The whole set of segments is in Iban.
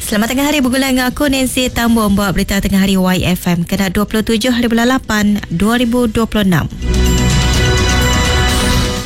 Selamat tengah hari begulai enggau aku Nancy Tambung ba berita tengah hari YFM kena 27 hari bulan 8 2026.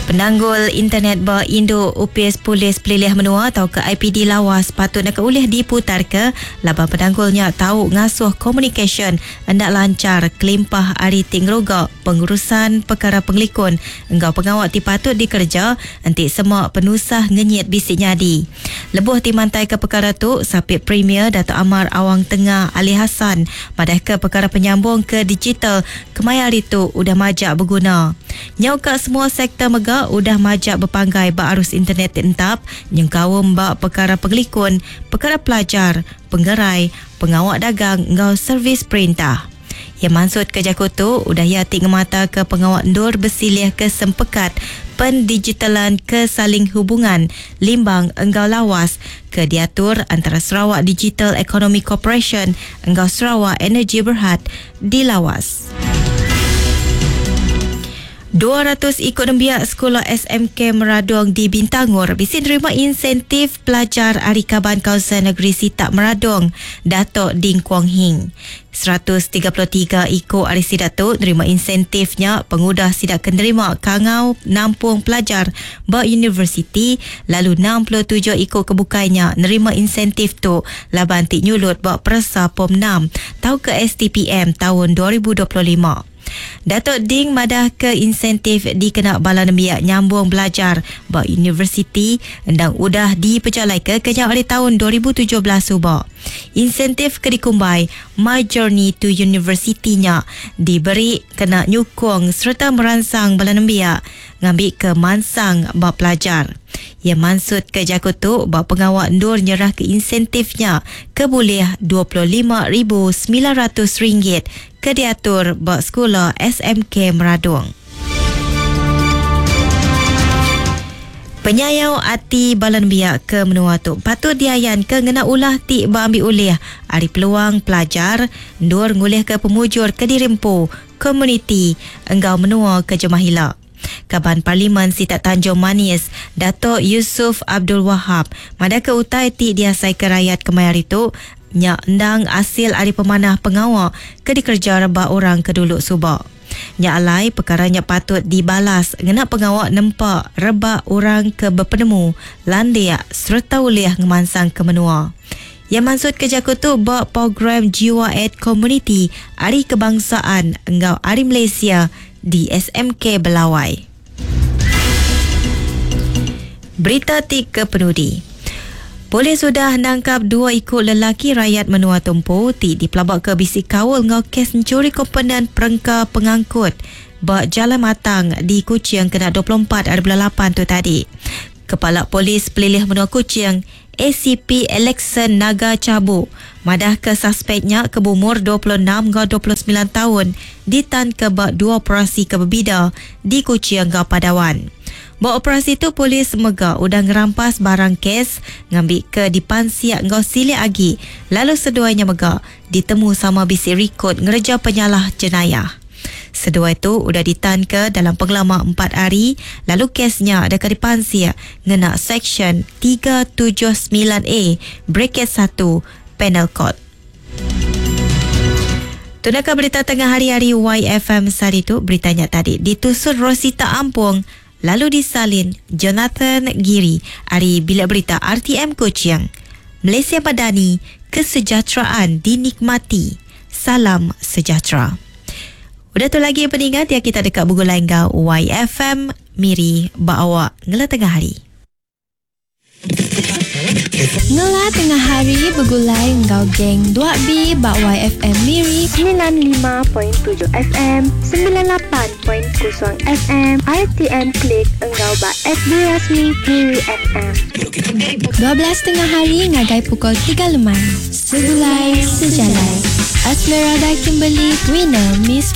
Penanggul internet ba indu Opis Polis Pelilih Menua tauka IPD Lawas patut naka ulih diputarka laban penanggul nya tau ngasuh komunikasyen enda lanchar kelimpah ari ti ngeruga pengurusan pekara pengelikun enggau pengawa ti patut dikereja enti sema penusah ngenyit bisi nyadi. Lebuh ti mantaika pekara tu, Sapit Premier Datuk Amar Awang Tengah Ali Hasan madahka pekara penyambung ke digital kemaya hari tu udah majak beguna. Nyau ka semua sektor mega udah majak bepanggai ba arus internet ti entap nyengkaum ba pekara pengelikun, pekara pelajar, pengerai, pengawa dagang enggau servis perintah. Iya mansutka jaku tu udah iya ti ngemataka pengawa endur besilihka sempekat pendigitalan ke saling hubungan Limbang enggau Lawas ke diatur antara Sarawak Digital Economy Corporation enggau Sarawak Energy Berhad di Lawas. 200 iku nembiak sekula SMK Meradong di Bintangor bisi nerima insentif pelajar ari Kaban Kaunsil Negeri Sitak Meradong, Datuk Ding Kuong Hing. 133 iku ari sida tu nerima insentif nya pengudah sida ke nerima kangau nampung pelajar ba universiti lalu 67 iku ke bukai nya nerima insentif tu laban ti nyulut ba peresa Pom 6 tauka STPM taun 2025. Datuk Ding madahka insentif dikena bala nembiak nyambung belajar ba universiti endang udah dipejalaika kenyau ari taun 2017 suba. Insentif ke dikumbai My Journey to University nya diberi kena nyukung sereta meransang bala nembiak ngambika mansang ba pelajar. Iya mansutka jaku tu ba pengawa endur nyerahka insentif nya ke bulih RM25,900 ke diatur ba sekula SMK Meradong. Penyayau ati bala nembiak ke menua tu patut diayanka ngena ulah ti beambi ulih ari peluang pelajar endur ngulihka pemujur kediri empu, komuniti enggau menua ke jemah ila. Kaban Parlimen Sitak Tanjung Manis, Datuk Yusuf Abdul Wahab madahka utai ti diasaika rayat kemaya hari tu nya endang asil ari pemanah pengawa ke dikereja reba orang ke dulu suba. Nya alai pekara nya patut dibalas ngena pengawa nempa rebak orang ke bepenemu, landik sereta ulih ngemansangka menua. Iya mansutka jaku tu ba Program Jiwa Aid Komuniti Hari Kebangsaan enggau Hari Malaysia di SMK Belawai. Berita ti kepenudi. Polis udah nangkap dua iku lelaki rayat menua tu empu ti dipelabaka bisi kaul enggau kes enchuri komponen perengka pengangkut ba Jalai Matang di Kuching kena 24 ari bulan lapan tu tadi. Kepala Polis Pelilih Menua Kuching, ACP Alexson Naga Chabu madahka saspek nya ke beumur 26 enggau 29 taun ditanka ba dua operasi ke bebida di Kuching enggau Padawan. Ba operasi tu polis mega udah ngerampas barang kes ngambika dipansik enggau silik agi lalu seduai nya mega ditemu sama bisi rikod ngereja penyalah jenayah. Seduai tu udah ditanka dalam pengelama empat hari lalu kes nya deka dipansik ngena Seksyen 379 A bracket satu Penal Code. Tu naka berita tengah hari ari YFM sehari tu. Berita nya tadi ditusun Rosita Ampung lalu disalin Jonathan Giri ari Bilik Berita RTM Kuching. Malaysia Madani, Kesejahteraan Dinikmati. Salam Sejahtera. Udah tu lagi peninga dia kita deka begulai enggau YFM Miri ba awak ngela tengah hari. Ngela tengah hari begulai enggau geng 2B ba YFM Miri 95.7 FM, 98.0 FM, RTM Click enggau ba FB rasmi Miri FM. 12 tengah hari ngagai pukul 3 lemai. Segulai Sejalai. Esmeralda Kimberly winner Miss.